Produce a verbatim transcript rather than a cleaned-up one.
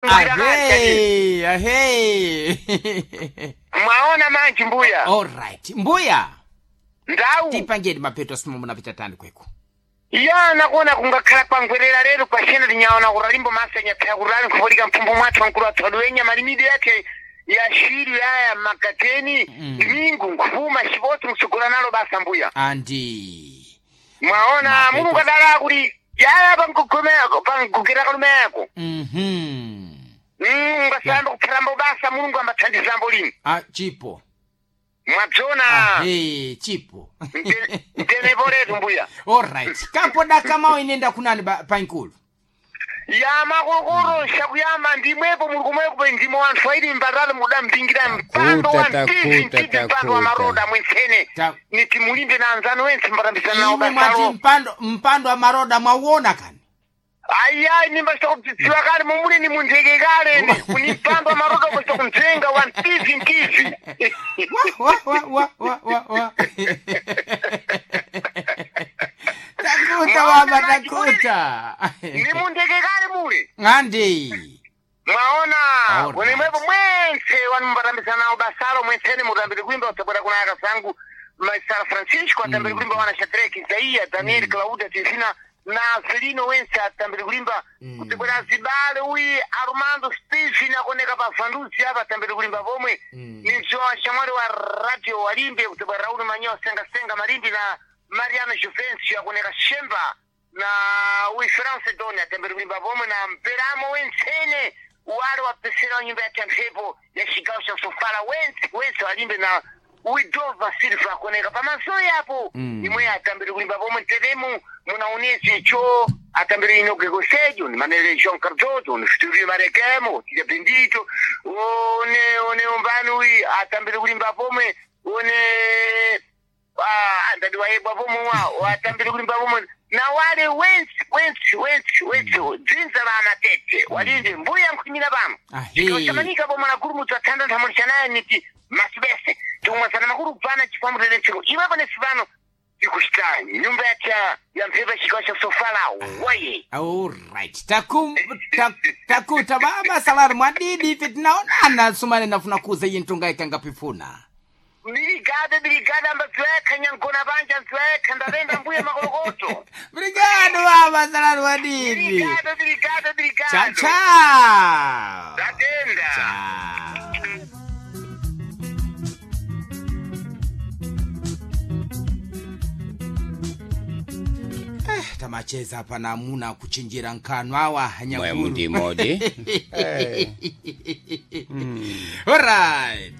Ahei, ahei. Mwaona manji mbuya. Alright. Mbuya. Ndau. Tipangeni mapeto simo munapita tani kweku. Ya nakuona kungakhala kwangwerera lero kwashena tinyaona kuralimbo masenya phaya kurali nkhupolika mphumbu mwathu wankulu athu aduwenya malimidi yake ya shiri yaya makateni Mm. mingu nkhuma xipotsi msugula nalo basa mbuya. Andi. Mwaona Mapeto. mulungu adala kuti yaya pankugomeko pankugera kalumeko. Mhm. Mm, ngasayamba kuphalambo basa mulungu ambathandizambo lini. Ah, chipo. Mwabzona. Ahei, chipo. Ntenepo letu mbuya. Alright. Kapoda kama inenda kunani ba- pankulu. Ya makokoro shakuyamba ndimwepo muli kumwepo ndimo wanthu aili mbatalo mudampingira mpando wa Takuta, mtivi takuta, mtivi mpando wa takuta. maroda mwensene Ta- niti mulimbe na anzanu wense mbatambisana nawo Imwe mwati basalo mpando mpando wa maroda mwauona kani. ayiayi nimbachita kudzidziwa kale mumuli ni muntheke kale ni kuni mpando wa maroda kuchita kumdzenga wa mtivi mtivi. Wa wa wa wa wa wa. Takuta baba takuta. Ni muntheke kale muli. Ngandi. Mwaona Alright. wenemwepo mwense wanu mbatambisana nawo basalo mwensene mutambire kuimba utsabwera kuna akasangu Maisara Francisco atambire kulimba wana Shadrack Isaia Daniel Claudia Tifina na Felino wense atambire kulimba Mm. kutsabwera zibale uyi Armando Stephen akoneka pa Fanduzi apa atambire kulimba pomwe Mm. ni mzowa shamwali wa radio walimbe kutsabwera Raul Manyo Senga Senga Malimbi na Mariano Juvencio akoneka Shemba na uyi France Doni atambire kulimba pomwe na Mperamo wensene wale wapesera nyumba ya champhepo ya chigawo cha sofala wense wense walimbe na widova silva akoneka pamasoyi apo Mm. imwe atambire kulimba pomwe teremu munaonese cho atambire inoke kosejo ni manele João Cardoso ni Fiturio Marekemo tija Bendito one one umbani uyi atambire kulimba pomwe one ah, andadi wayebwa pomwe wa watambire kulimba pomwe na wale wense wense wense wense dzinza la amatete walinde mbuya nkhwimira pano Ahe. chamanika pomwe na gurumutsu athanda nthamulisa naye niti masibese tikumwasana makulu kupana chifamutete ntsiko iwepo nesi pano tikuchita nyumba yacha ya mphepo chigawo cha sofala waye. Alright. Takum ta, takuta baba salari mwadidi ife tinaonana sumane nafuna kuza iyi ntunga ikanga pifuna. Birigade birigade ambadziwekha nyangona panja ndziwekha ndapenda mbuya makolokoto. Brigado baba salari mwadidi. Birigade birigade Cha birigade. cha. Tatenda. Cha. Eh, tamacheza pana amuna kuchinjira nkhanu awa Mwe nyakulu. mudimodi. Alright.